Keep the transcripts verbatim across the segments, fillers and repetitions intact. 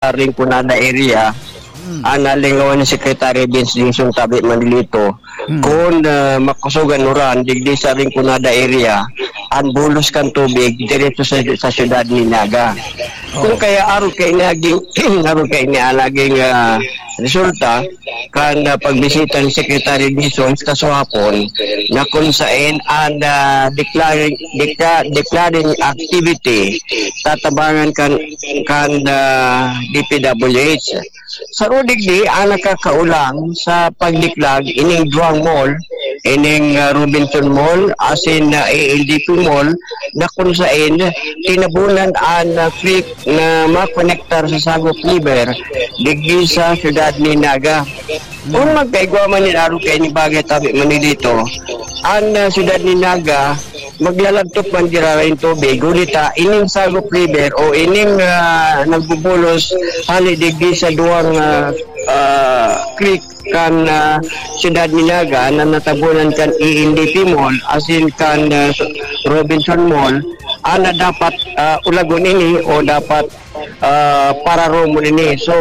Rinconada area, Hmm. Ang nalingawan ni Secretary Vince Dizon tabi Manilito, Hmm. Kung, ah, makusogan uran, digdi sa Rinconada area, ang bulos kan tubig diretso sa, sa siyudad ni Naga. Kung Oh. kaya arog kay naging, arog kay ni naging, ah, resulta, kan, ah, pagbisita ni Secretary Dizon sa kasuhapon, na kung saen ang, ah, declaring, decla-, declaring activity, tatabangan kan, kan, ah, D P W H. Sa Rodig di, ang nakakaulang sa pagdiklag ining duwang mall, ining, ah, Robinson Mall, asin na A L D P Mall, na kung saen tinabunan an, ah, creek na makonektar sa Sagop River, digdi sa siyudad ni Naga. Kung magkaigwa man nin arog kaini bagay tabi Manilito, an, ah, siyudad ni Naga, maglalagtop man giraray an tubig, huli ta ining Sagop River o ining, ah, nagbubulos hali digdi sa duwang, ah, ah, creek kan, ah, siyudad ni Naga na natabunan kan E N D P Mall, asin kan, ah, Robinson Mall, ana dapat, ah, ulagon ini o dapat, ah, pararomon ini. So,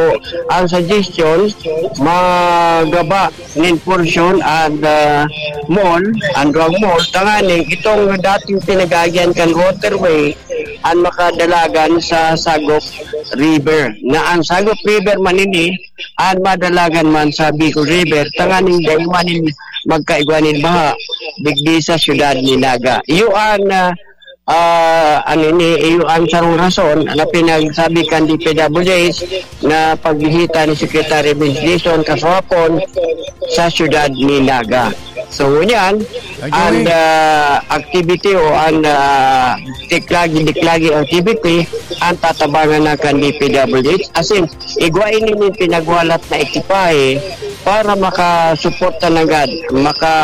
ang suggestion, magaba nin porsyon an, ah, mall, an duwang mall, tanganing itong dating pinag-aagihan kan waterway, an makadalagan sa Sagop River. Na ang Sagop River man ini, an madalagan man sa Bicol River, tanganing dai man nin magkaigwa nin baha, digdi sa siyudad ni Naga. Iyo an, ah, ah, ano ini, iyo an sarong rason na pinagsabi kan D P W H na pagbisita ni Secretary Vince Dizon kasuhapon sa siyudad ni Naga. So, ngunyan, Ay, ang, Joey. ah, activity o ang, ah, diklagi-diklagi activity, ang tatabangan na kan D P W H. As in, igwa ini nin pinagwalat na ekipahe para makasuporta nanggad, maka,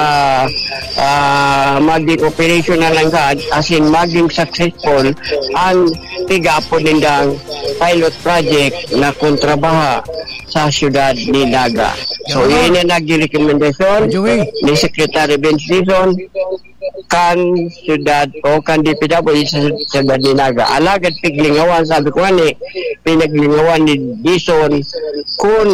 ah, maging operational nanggad, as in, maging successful ang pigapon nindang pilot project na kontrabaha sa siyudad ni Naga. So, Yan. Yun ang naging rekomendasyon Joey. Ni Secretary Vince Dizon kan siyudad o kan D P W sa siyudad ni Naga. Alagad piglingawan, sabi ko nga ni, pinaglingawan ni Dizon kun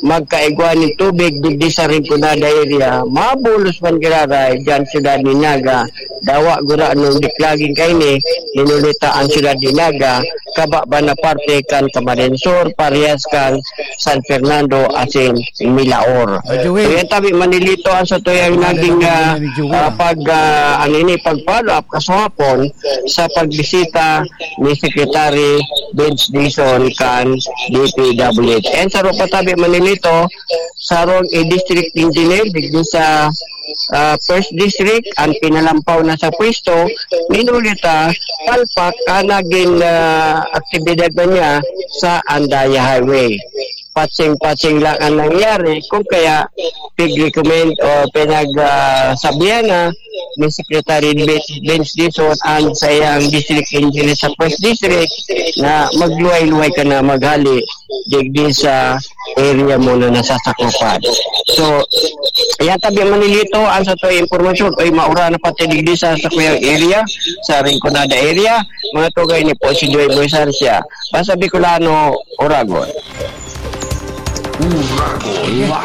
magkaigwa nin tubig digdi sa Rinconada area, mabulos man giraray dyan siyudad ni Naga. Dawa gurano diklagin kaini, hinuli ta ang siyudad ni Naga, kaba ba na parte kan Camarines Sur, parehas kan San Fernando asin Milaor. Ay, Joey. So, yan tabi, Manilito, ang sa tuyang Wala naging, naman ah, yun, Joey, ah, ah. pag, ah, ano ini, pag-follow up kasuhapon sa pagbisita ni Secretary Vince Dizon kan D P W H. And sa rupa tabi, Manilito, sarong i-district engineer digdi sa, ah, first district, ang pinalampaw na sa pwesto, minuli ta, palpak ang naging, ah, aktibidad na niya sa Andaya Highway. Patsing-patsing lang ang nangyari, kung kaya pig-recommend o pinag, ah, sabihan na ni Secretary Vince, Vince Dizon ang sa iyang district engineer sa first district na magluway-luway ka na maghali digdi sa area mo na nasasakupan. So, yan tabi, Manilito, ang sa to impormasyon, oy, maura na pati digdi sa, sa kuyang area, sa Rinconada area, mga tugay ni po si Joy Boy Sarcia. Basta Bicolano, Oragon. Uragon Live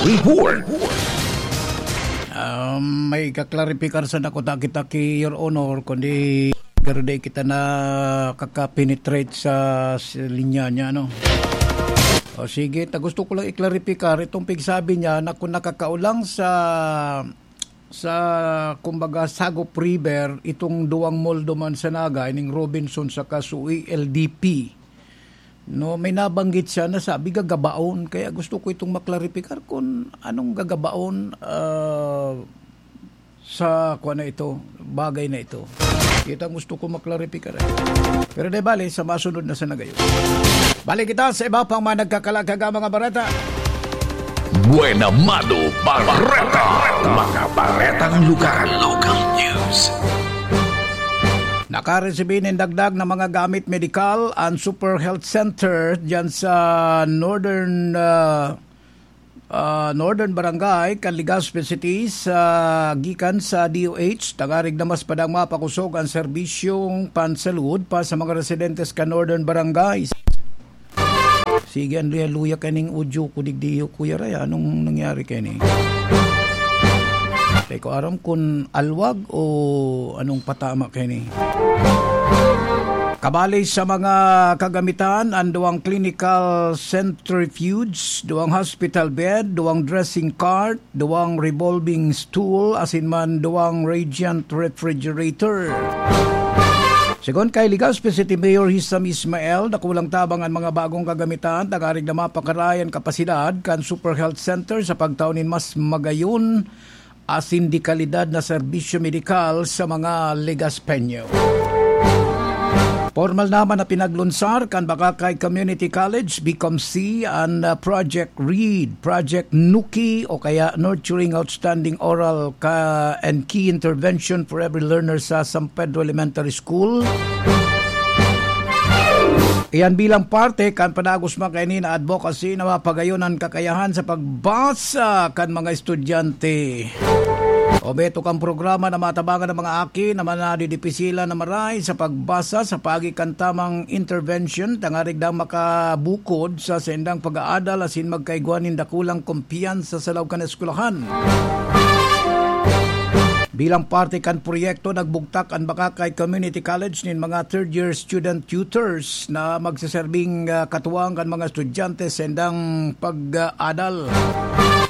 Report. Um, may kaklaripikar sa nakuta kita ki Your Honor, kundi pero di kita nakakapenetrate sa, sa linya niya, no? O sige, ta gusto ko lang i-clarify itong pigsabi niya na kung nakakaulang sa, sa, kumbaga, Sagop River, itong duwang mall duman sa Naga, ining Robinson saka Sui L D P. No, may nabanggit siya na sabi gagabaon. Kaya gusto ko itong maklaripikar kung anong gagabaon, ah, sa kuwan na ito, bagay na ito. Ito ang gusto ko maklaripikar, eh. Pero di bale, sa masunod na sa nagayon. Balik kita sa iba pang mga nagkakalagkaga mga bareta. Buena Mano Bareta. Mga baretang lugar. Local news. Nakaresibi nin dagdag na mga gamit medikal ang Super Health Center diyan sa Northern, ah, ah, Northern Barangay kan Legazpi City sa gikan sa D O H. Tangarig na mas padang mapakosog ang serbisyong pansalud pa sa mga residentes kan Northern Barangay. Sige, an luya-luya kaning audio ko digdi, Kuya Ray, anong nangyari kaini? Di ko aram kun alwag o anong patama kaini. Kabali sa mga kagamitan, an duwang clinical centrifuge, duwang hospital bed, duwang dressing cart, duwang revolving stool, asin man duwang radiant refrigerator. Segun kay Legazpi City Mayor Hisam Ismael, dakulang tabang an mga bagong kagamitan tangarig na mapakaray an kapasidad kan Super Health Center sa pagtao nin mas magayon asin de kalidad na serbisyo medikal sa mga Legazpeño. Pormal naman na pinaglunsar kan Bacacay Community College, BComC, an, ah, Project READ, Project Nuki o kaya Nurturing Outstanding Oral ka and Key Intervention for Every Learner sa San Pedro Elementary School. Iyan bilang parte kan padagos man kaini na advocacy na mapagayon an kakayahan sa pagbasa kan mga estudyante. Obheto kan programa na matabangan ang mga aki na manadidipisilan na maray sa pagbasa sa paagi kan tamang intervention tangarig daw makabukod sa saindang pag-aadal asin magkaigwa nin dakulang kumpiyansa sa laog kan eskwelahan. Bilang parte kan proyekto, nagbugtak an Bacacay Community College nin mga third year student tutors na magseserbing, ah, katuwang kan mga estudyante sa saindang pag-aadal.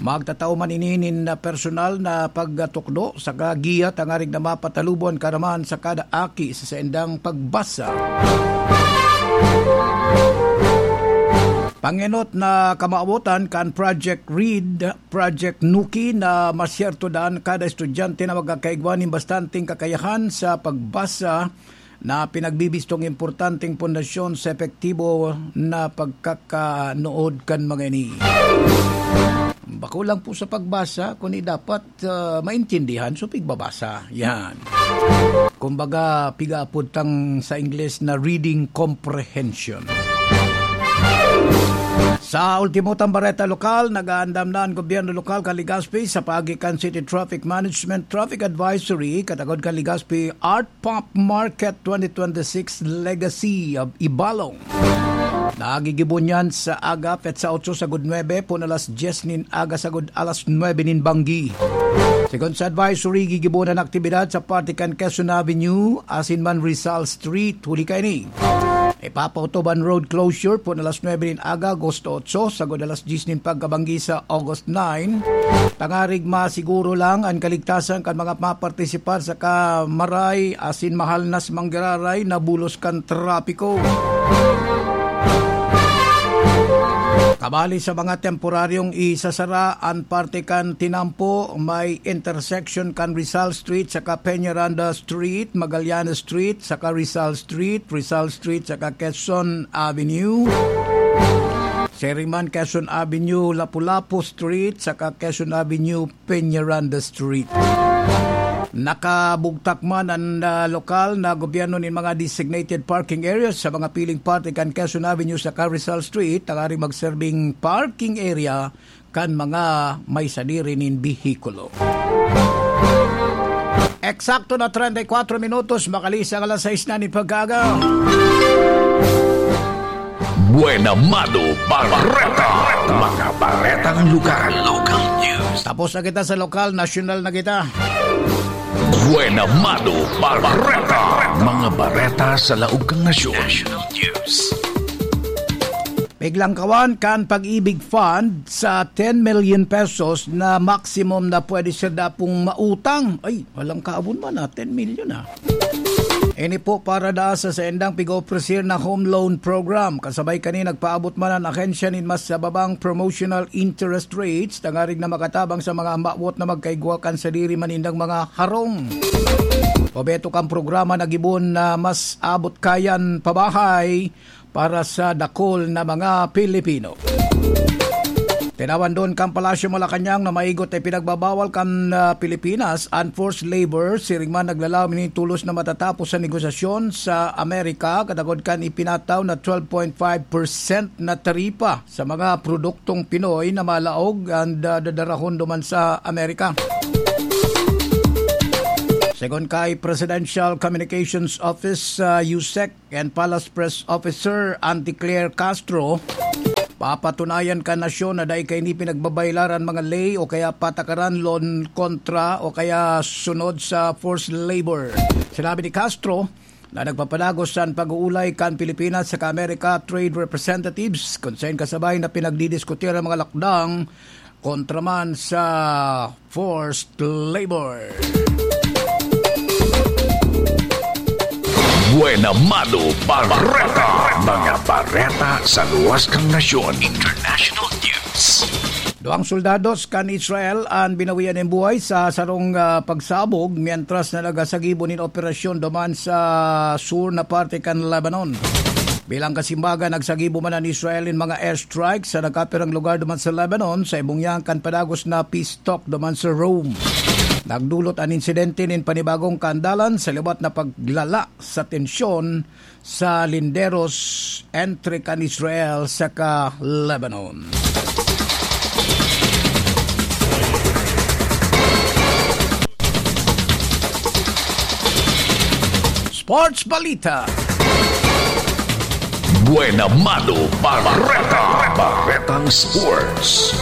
Magtatao man ini nin, ah, personal na pagtukdo saka giya tangarig na mapatalubo an karamahan sa kada aki sa saindang pagbasa. Pangenot na kamawotan kan Project READ, Project Nuki na masyerto dan kada estudyante na magkakaigwa nin bastanteng kakayahan sa pagbasa na pinagbibistong importanteng pundasyon sa epektibo na pagkakanood kan mga ini. Bako lang po sa pagbasa, kundi dapat, ah, maintindihan, so pigbabasa. Yan. Kumbaga, pigaapod tang sa Ingles na reading comprehension. Sa ultimo tang bareta lokal, nag-aandam na an gobyerno lokal kan Legazpi sa paagi kan City Traffic Management Traffic Advisory, katagod kan Legazpi Art Pop Market twenty twenty-six Legacy of Ibalong. Nagigibo niyan sa aga, petsa otso sagod nuebe, pon alas dyes nin aga sagod alas nuebe nin banggi. Segun sa advisory, gigibo an aktibidad sa parte kan Quezon Avenue, asin man Rizal Street, huli kaini. Ipapautob an road closure pon alas nuebe nin aga, Agosto otso, sagod alas dyes nin pagkabanggi sa August nine, tangarig masiguro lang an kaligtasan kan mga mapartisipar saka maray asin mahalnas manggiraray na bulos kan trapiko. Kabali sa mga temporaryong isasara an parte kan tinampo, may intersection kan Rizal Street saka Peñaranda Street, Magallanes Street saka Rizal Street, Rizal Street saka Quezon Avenue. Siring man Quezon Avenue, Lapu-Lapu Street saka Quezon Avenue, Peñaranda Street. Nakabugtak man an, ah, lokal na gobyerno nin mga designated parking areas sa mga piling parte kan Quezon Avenue saka Rizal Street, tangaring magserbing parking area kan mga may sadiri nin behikulo. Eksakto na treinta y cuatro minutos, makalisang alas sais na nin pag-aga. Buena Mano Bareta. Mga baretang lokal. Local news. Tapos na kita sa lokal, nasyonal na kita. Buena Mano Bareta. Mga bareta sa laog kan nasyon. National news. Piglangkawan kan Pag-ibig Fund sa ten million pesos na maximum na pwede siya dapong mautang. Ay, walang kaabon man, ah, ten million, ah. Ini po para daa sa saindang pig-opresir na home loan program. Kasabay kani, nagpaabot man an ahensya nin mas babang promotional interest rates, tangarig na makatabang sa mga mawot na magkaigwa kan sadiri man nindang mga harong. Obheto kan programa na gibohon na mas abot kayan pabahay para sa dakul na mga Pilipino. Tinawandon kan Palasyo Malacañang na maigot na ipinagbabawal kan, ah, Pilipinas an forced labor, siring man naglalaom ini tolos na matatapos sa negosasyon sa Amerika, katagod kan ipinataw na twelve point five percent na taripa sa mga produktong Pinoy na malaog an da-, dadarahon duman sa Amerika. Segun kay Presidential Communications Office, ah, USEC, and Palace Press Officer Auntie Claire Castro, Papatunayan kan nasyon na dai kaini pinagbabaylaran mga ley o kaya patakaran lon kontra o kaya sunod sa forced labor. Sinabi ni Castro na nagpapadagos an pag-uulay kan Pilipinas saka Amerika trade representatives, kun saen kasabay na pinagdidiskutihan ang mga lakdang kontra man sa forced labor. Buena Mano Bareta. Mga bareta sa luwas kan nasyon. International news. Duwang soldados kan Israel an binawian nin buhay sa sarong, ah, pagsabog, mientras na nagasagibo nin operasyon duman sa sur na parte kan Lebanon. Bilang kasimbagan, nagsagibo man an Israel nin mga airstrike sa nagkapirang lugar duman sa Lebanon, sa ibong yan kan padagos na peace talk duman sa Rome. Nagdulot an insidente nin panibagong kaandalan sa liwat na paglala sa tensyon sa linderos entre kan Israel saka Lebanon. Sports Balita. Buena Mano Bareta. Baretang Sports.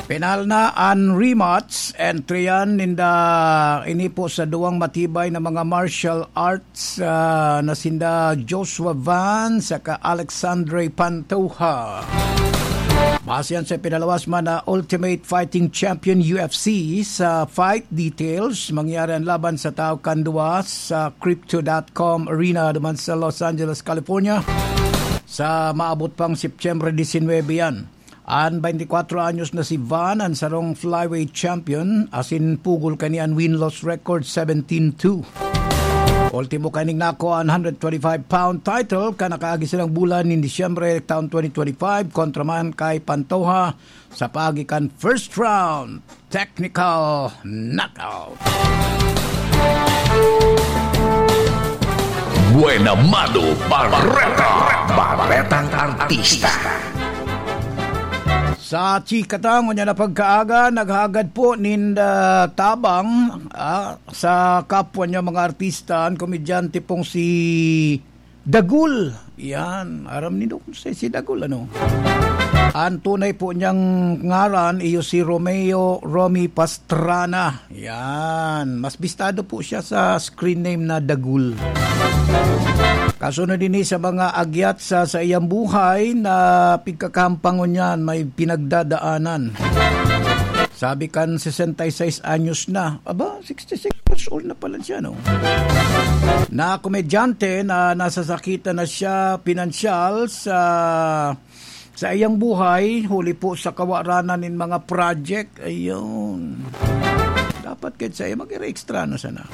Penal na an rematch entry yan ninda, ini po sa duwang matibay na mga martial arts, ah, na sinda Joshua Van saka Alexandre Pantoja. Base yan sa pinalawas man na Ultimate Fighting Champion U F C. Sa fight details, mangyari ang laban sa Tao Kandua sa crypto dot com Arena duman sa Los Angeles, California, sa maabot pang Setyembre disinwebe yan. An baintikwatro anyos na si Van, an sarong flyweight champion, asin pugol kani an win-loss record, seventeen two. Ultimo kaning nako an hundred twenty-five pound title kan nakaagi silang bulan nin Disyembre taon twenty twenty-five kontra man kay Pantoja sa paagi kan first round technical knockout. Buena Mano Bareta. Baretang Artista. Sa chika ta, ngunyan na pagkaaga, naghagad po nin, ah, tabang, ah, sa kapwa niya mga artista, an komedyante pong si Dagul. Yan, aram nindo kun si, si Dagul, ano? An tunay po niyang ngaran iyo si Romeo Romy Pastrana. Yan, mas bistado po siya sa screen name na Dagul. Kasunod ini sa mga agyat sa saiyang buhay na pigkakampangon niyan, may pinagdadaanan. Sabi kan sesenta y seis anyos na. Aba, sixty-six years old na pala siya, no? Na komedyante na nasasakitan na siya pinansyal sa, sa iyang buhay, huli po sa kawaranan nin mga project. Ayun. Dapat kahit sa iya, mag-extra na sana.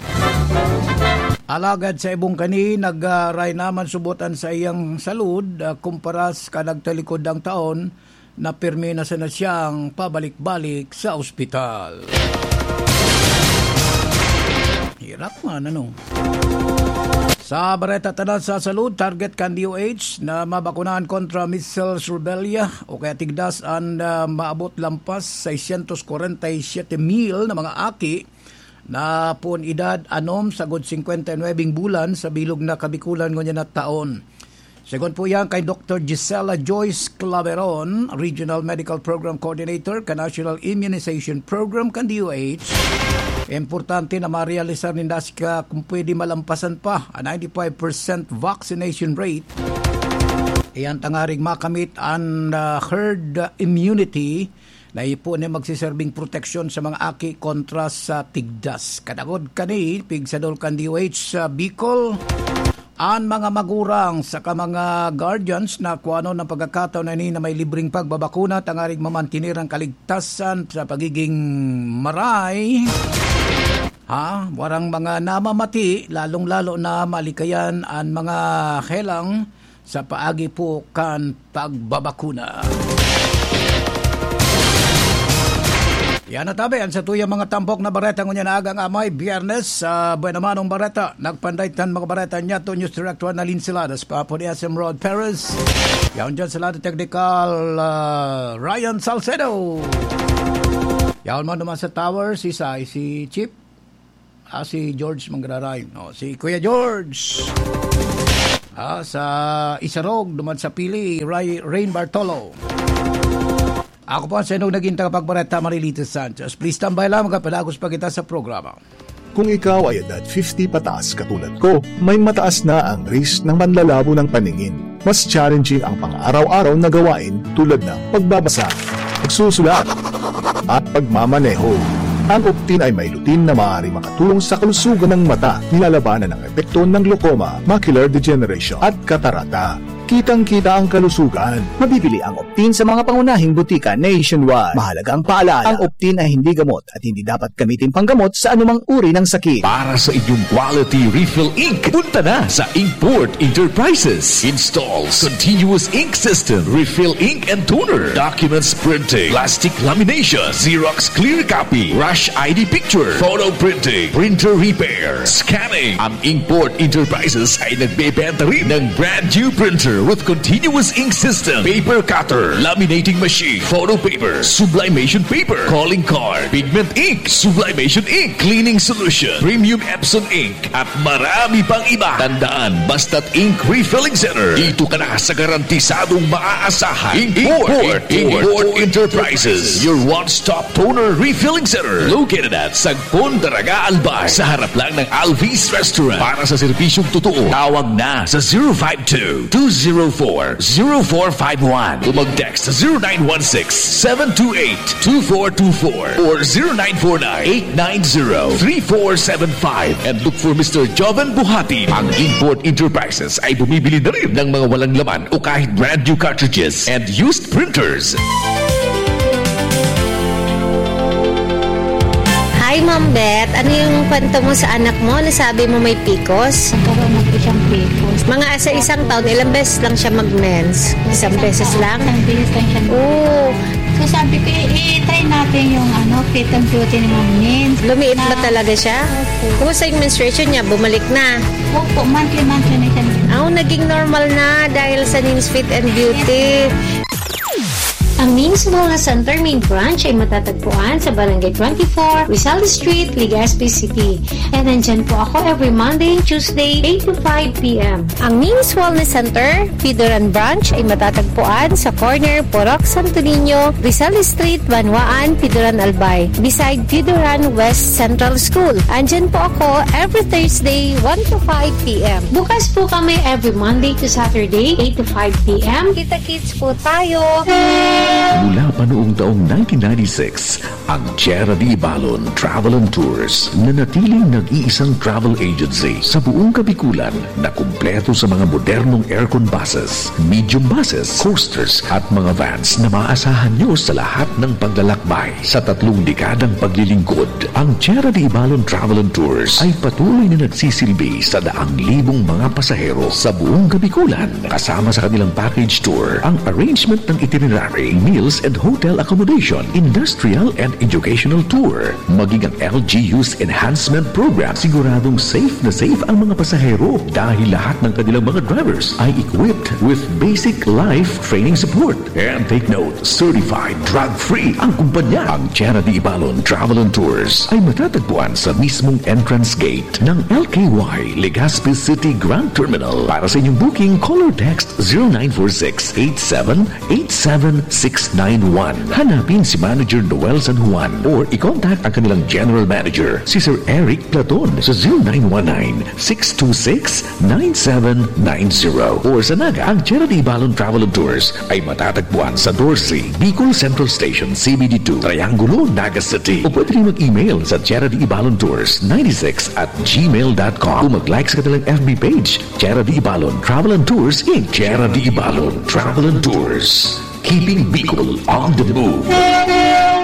Alagad sa ibong kani, nag-, ah, ray naman subotan sa iyang salud, ah, kumpara sa kadagtalikod ang taon, na pirmi na sana siyang pabalik-balik sa ospital. Hirap man, ano? Sa bareta tanan sa salud, target kan D O H na mabakunahan kontra measles, rubella o kaya tigdas an, ah, maabot lampas seiscientos kwarenta y siete mil na mga aki na pon edad anom sagod singkwenta y nuwebeng bulan sa bilog na Kabikulan ngunyan na taon. Segun po yan kay Doktor Gisela Joyce Claveron, Regional Medical Program Coordinator kan National Immunization Program kan D O H, importante na marealisar ninda sika kung pwede malampasan pa ang ninety-five percent vaccination rate. Iyan tangarig makamit ang, ah, herd immunity na ipo ni magsiserbing proteksyon sa mga aki kontra sa tigdas. Kadagod kani, pigsadol kan D O H sa Bicol, an mga magurang saka mga guardians na kuanon ang pagkakataon na ini na may libreng pagbabakuna tangarig mamantener ang kaligtasan sa pagiging maray. Ha? Warang mga namamati, lalong-lalo na malikayan an mga helang sa paagi po kan pagbabakuna. Yan na tabi, ang sa tuyang mga tampok na bareta ngunyan na agang amay, Biyernes, sa Buena Manong Bareta. Nagpanday tan mga bareta niya to News Director na Lin Siladas, Papo ni S M Rod Perez. Yan dyan sa lado technical, ah, Ryan Salcedo. Yan man naman sa tower, si Sai, si Chip. Ah, si George Mangraray. No, si Kuya George. Ah, sa Isarog, duman sa Pili, Ray, Rain Bartolo. Ako po ang sa inyong naging tagapagbareta, Marilita Sanchez. Please tambay lang, magkapadagos pa kita sa programa. Kung ikaw ay edad fifty pataas katulad ko, may mataas na ang risk ng manlalabo ng paningin. Mas challenging ang pang-araw-araw na gawain tulad ng pagbabasa, pagsusulat, at pagmamaneho. Ang Optin ay may lutein na maaaring makatulong sa kalusugan ng mata, nilalabanan ng epekto ng glaucoma, macular degeneration, at katarata. Kitang-kita ang kalusugan. Mabibili ang Optin sa mga pangunahing butika nationwide. Mahalagang paalala, ang Optin ay hindi gamot at hindi dapat gamitin panggamot sa anumang uri ng sakit. Para sa inyong quality refill ink, punta na sa Inkport Enterprises. Installs continuous ink system, refill ink and toner, documents printing, plastic lamination, Xerox clear copy, rush I D picture, photo printing, printer repair, scanning. Ang Inkport Enterprises ay nagbebenta rin ng brand new printer with continuous ink system, paper cutter, laminating machine, photo paper, sublimation paper, calling card, pigment ink, sublimation ink, cleaning solution, premium Epson ink, at marami pang iba. Tandaan, basta't ink refilling center, dito ka na sa garantisadong maaasahan. Inkport, Inkport Enterprises, your one-stop toner refilling center, located at Sagpon, Daraga, Albay, sa harap lang ng Alvis Restaurant. Para sa serbisyong totoo, tawag na sa zero five two, two zero four, zero four five one o mag-text sa zero nine one six, seven two eight, two four two four or zero nine four nine, eight nine zero, three four seven five and look for Mister Joven Buhati. Ang Inkport Enterprises ay bumibili na rin ng mga walang laman o kahit brand new cartridges and used printers. Hi, Ma'am Beth. Ano yung kwento mo sa anak mo? Nasabi mo may picos? Nagkaroon na po siyang picos. Mga sa isang taon, ilang beses lang siya mag-mens? Isang beses lang? Isang beses lang siya. Oo. So, sabi ko, "I-, i-try natin yung, ano, fit and beauty ni Ma'am Nins." Lumiit ba talaga siya? Opo. Kumusta yung menstruation niya? Bumalik na? Opo, monthly-monthly na siya. Ah, naging normal na dahil sa Nins Fit and Beauty. Ang Nins Wellness Center main branch ay matatagpuan sa Barangay twenty-four, Rizal Street, Legazpi City. And nandyan po ako every Monday and Tuesday, eight to five p m. Ang Nins Wellness Center, Pidoran Branch, ay matatagpuan sa corner Purok Santo Niño, Rizal Street, Banwaan, Pidoran, Albay, beside Pidoran West Central School. Andyan po ako every Thursday, one to five p m. Bukas po kami every Monday to Saturday, eight to five p m. Kita-kits po tayo! Mula pa noong taong nineteen ninety-six, ang Tierra de Ibalon Travel and Tours, nanatiling nag-iisang travel agency sa buong Kabikulan na kumpleto sa mga modernong aircon buses, medium buses, coasters at mga vans na maaasahan nyo sa lahat ng paglalakbay. Sa tatlong dekadang paglilingkod, ang Tierra de Ibalon Travel and Tours ay patuloy na nagsisilbi sa daang libong mga pasahero sa buong Kabikulan. Kasama sa kanilang package tour, ang arrangement ng itinerary, meals and hotel accommodation, industrial and educational tour, maging ang L G U's enhancement program, siguradong safe na safe ang mga pasahero dahil lahat ng kanilang mga drivers ay equipped with basic life training support. And take note, certified drug-free ang kumpanya. Ang Tierra de Ibalon Travel and Tours ay matatagpuan sa mismong entrance gate ng L K Y Legazpi City Grand Terminal. Para sa inyong booking, call or text zero nine four six eight seven eight seven six nine one. Hanapin si Manager Noel San Juan or i-contact ang kanilang General Manager, si Sir Eric Platon, sa zero nine one nine, six two six, nine seven nine zero. Or sa Naga, ang Tierra de Ibalon Travel and Tours ay matatagpuan sa Dorsey, Bicol Central Station, C B D two, Triangulo, Naga City. O pwede rin mag-email sa Tierra de Ibalon Tours ninety-six at gmail dot com. O mag-like sa kanilang F B page, Tierra de Ibalon Travel and Tours, Inc. Tierra de Ibalon Travel and Tours. Keeping Bicol on the move.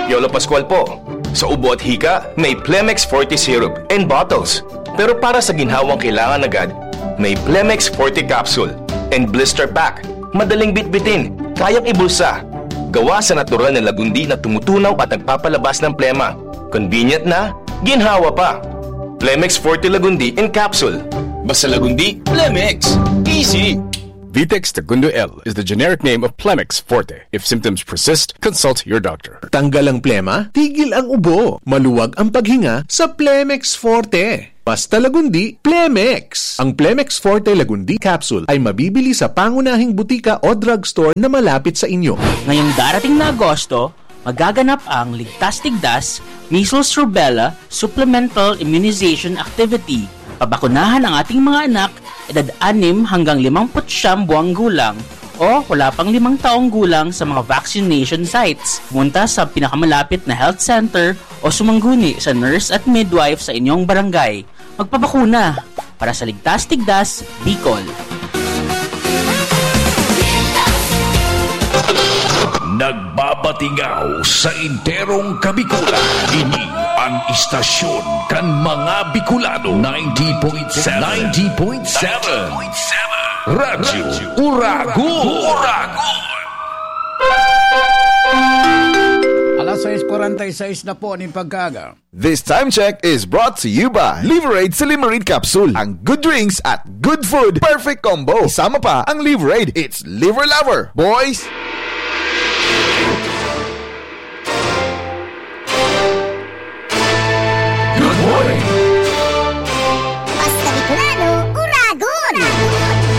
Yolo Pascual po. Sa ubo at hika, may Plemex Forte Syrup and bottles. Pero para sa ginhawang kailangan agad, may Plemex Forte Capsule and Blister Pack. Madaling bitbitin, kayang ibulsa. Gawa sa natural na lagundi na tumutunaw at nagpapalabas ng plema. Convenient na, ginhawa pa. Plemex Forte Lagundi in Capsule. Basta Lagundi, Plemex. Easy! Vitex Segundo L is the generic name of Plemex Forte. If symptoms persist, consult your doctor. Tanggal ang plema, tigil ang ubo. Maluwag ang paghinga sa Plemex Forte. Basta Lagundi, Plemex! Ang Plemex Forte Lagundi Capsule ay mabibili sa pangunahing butika o drugstore na malapit sa inyo. Ngayong darating na Agosto, magaganap ang Ligtas Tigdas Measles Rubella Supplemental Immunization Activity. Pabakunahan ang ating mga anak, edad anim hanggang limampu't siyam buwang gulang o wala pang limang taong gulang sa mga vaccination sites. Pumunta sa pinakamalapit na health center o sumangguni sa nurse at midwife sa inyong barangay. Magpabakuna para sa Ligtas Tigdas, Bicol. Nagbabatingaw sa enterong Kabikulan. Ini ang istasyon kan mga Bicolano. ninety point seven. ninety point seven. Radyo Uragon. Uragon. Alas sais kwarenta y sais na po nin pagkaaga. This time check is brought to you by Liverade Silimarid Capsule. Ang good drinks at good food, perfect combo. Isama pa ang Liverade. It's Liver Lover, boys! Good morning,